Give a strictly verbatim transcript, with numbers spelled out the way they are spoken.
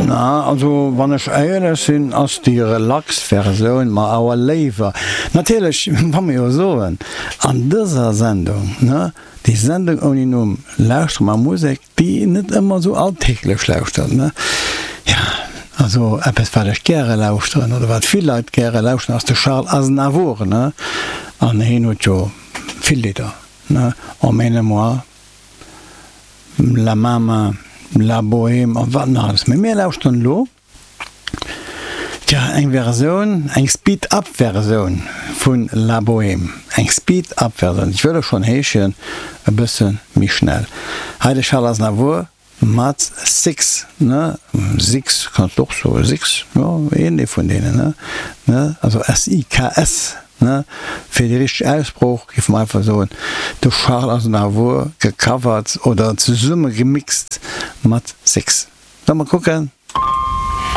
Na, also wann ech éierlech sinn, ass déi relax Versioun mer awer léiwer. Natierlech, wa mer jo soen, an dëser Sendung, ne, déi Sendung ouni Numm, lauschtere mer Musek, déi een net ëmmer esou alltäglech lauschtert, ne. Jo, also eppes wat ech gäre lauschteren oder wat vill Leit gäre lauschteren, ass de Charles Aznavour, ne. An hien huet jo vill Lidder, ne, Emmène-moi. La Mama, La Bohème a wat nach alles. Mee mir lauschteren elo, tja, eng Versioun, eng Speed-Up-Versioun vun La Bohème. Eng Speed-Up-Versioun, ech wëll och schonn heeschen, e bësse méi schnell. Hei de Charles Aznavour mat Six, ne? Six kanns de och soen, Six, jo, een dee vun deenen, ne? Ne? Also S I K S. Ne? Fir déi richteg Aussprooch géife mer einfach soen, de Charles Aznavour gecovert oder zesumme gemixt mat Six. Solle mer kucken?